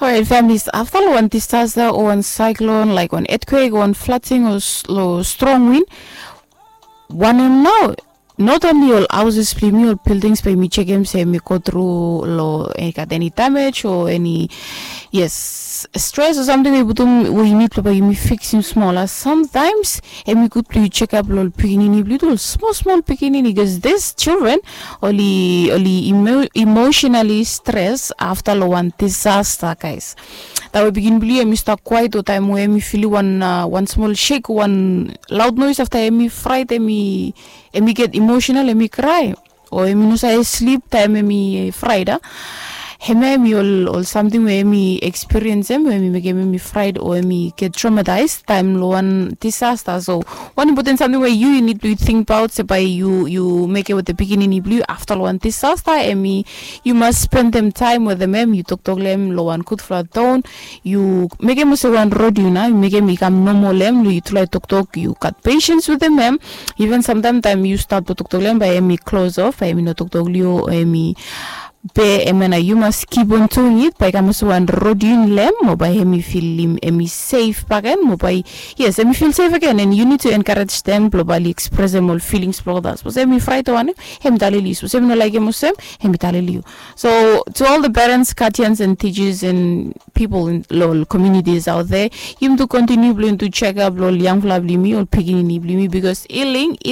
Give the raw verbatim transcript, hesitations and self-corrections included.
Alright, families, afta long wan disaster o wan cyclone, like wan earthquake o wan flooding o s- lo strong wind, wanem nao, not only ol houses blong yumi, ol buildings, bae yumi chekem se yumi go tru lo, eh, gat eni damage o eni, yes, stress o samting we i putum we i nid blong bae yumi fiksim smol. A sometimes hemi gud blong yu chekap lo ol pikinini blong yu tu, ol smol smol pikinini, bikos this children oli oli emo- emotionally stress afta lo wan disaster, guys. Taem we pikinini blong yu hemi stap kwaet o taem we hemi filim wan uh, wan smol shake, wan loud noise, afta hemi fright, hemi hemi get emotional, hemi cry, o hemi no save slip taem hemi fright, a hemia hemi ol ol samting we hemi experience em we hemi mekem hemi fright o hemi get traumatized taem lo wan disaster. So wan important samting we yu yu nid blong yu tingbaot se bae yu yu mekem wetem pikinini blong yu afta lo wan disaster, hemi yu mas spendem taem wetem hem, yu toktok lo hem lo wan gudfala tone, yu mekem olsem wan rod yu nao, yu mekem i kam nomal lo hem, yu tulae toktok, yu gat patience wetem hem. Even samtaem taem yu stat blong toktok lo hem bae hemi close off, bae hemi no toktok lo yu, hemi be hemia nao yu mas keep on doing it, bae i kam olsem wan rod yu lo hem, mo bae hemi filim hemi safe bakegen, mo bae, yes, hemi feel safe again. And you need to encourage them blong bae oli expressem ol feelings blong olgeta. Sapos hemi fright o wanem, hemi talem lo yu. Sapos hemi no laekem olsem, hemi talem lo yu. So to all the parents, guardians and teachers and people in lo ol communities out there, yumi tu continue blong yumi tu chekap lo ol yangfala blong yumi, ol pikinini blong yumi, bikos healing